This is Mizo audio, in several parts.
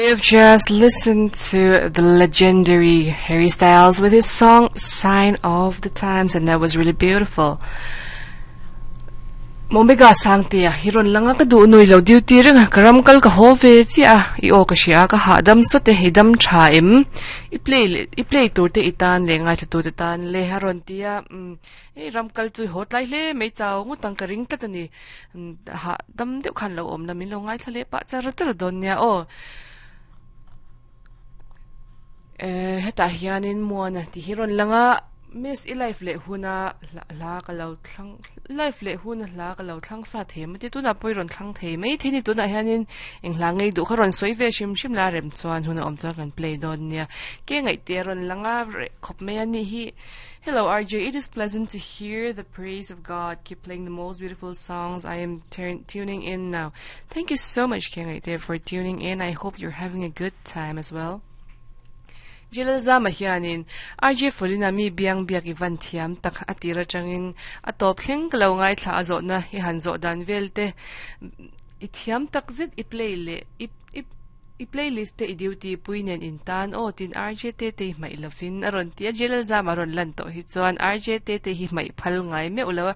We've just listened to the legendary Harry Styles with his song Sign of the Times, and that was really beautiful. Momega sangtea hi rawn lang a ka duh nui lo duty reng a ka ram kal ka haw ve chiah a i aw ka hria a ka hahdam sawt e i dam tha em i play leh i play tur te i tan leh ngaithla tu te tan le a rawn ti a umm hei ram kal chu i haw tlai hle mai chau ngawt ang ka ring tlat a ni hahdam deuh khan lo awm la min lo ngaithla leh pah char char dawn nia aw eh hetah hianin muana tih hi rawn lang a miss i live leh huna hla ka lo thlang live leh huna hla ka lo thlang sa thei maw ti tunah pawh i rawn thlang thei mai thei a ni tunah hianin eng hla ngei duh kha rawn sawi ve hrim hrim la rem chuan hun a awm chuan kan play dawn nia ke ngaihte a rawn lang a reh khawp mai a nih hi. Hello RJ, it is pleasant to hear the praise of God. Keep playing the most beautiful songs. I am tuning in now. Thank you so much, King There, for tuning in. I hope you're having a good time as well. Jilal zama hianin RJ Folina mi biang biak i van thiam tak atira changin a top thleng ka lo ngai thla a zawhna i han zawh dan vel te i thiam tak zet i play leh i i I playlist te i duty pui nen in tan aw tin RJ Tetei hmaih lovin a rawn ti a, Jalal Zam a rawn lan tawh hi chuan RJ Tetei hi hmaih phal ngai meuh lo a,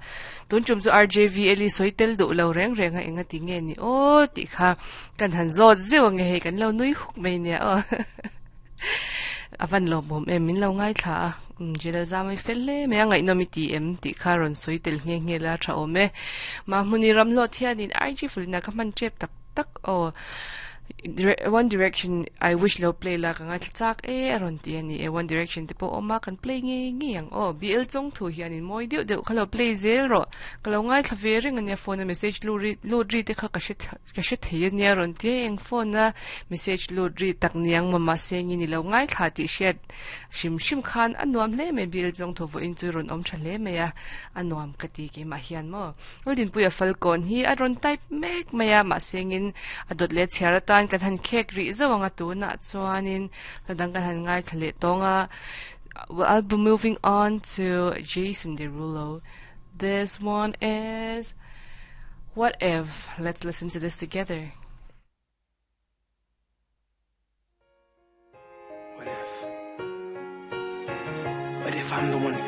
tun tum chu RJ VL i sawi tel duh lo reng reng a enga ti nge ni aw tih kha kan han zawt zeuh ange hei kan lo nui huk mai nia aw a van lawmawm em min lo ngaithla a Jalal Zam i fel hle mai a ngaihnawm i ti em tih kha rawn sawi tel nghe nghe la tha awm e Mahmuni Ramhlawt hianin RJ Fulina ka hman tep tak tak aw One Direction I wish lo play la ka ngaithla chak e a rawn ti a ni e One Direction te pawh awm a kan play ngei ngei ang aw BL chawng thu hianin mawi deuh deuh kha lo play zel rawh ka lo ngaithla ve reng ania phone a message lut ri lut ri te kha ka hre ka hre thei ania a rawn ti a eng phone a message lut ri tak niang maw mahse nge ni lo ngaithla tih hriat hrim hrim khan a nuam hle mai BL chawng thu vawiin chu rawn awm tha hle mai a a nuam ka ti keimah hian maw. Lalrinpuia Falkawn hi a rawn type mek mai a, mahsengin a dawt leh chhiar atan kan han khek rih zauh ang a, tunah chuanin hla dang kan han ngaithla leh tawng a. Well, I'll be moving on to Jason Derulo. This one is What If? Let's listen to this together. What if? What if I'm the one for you?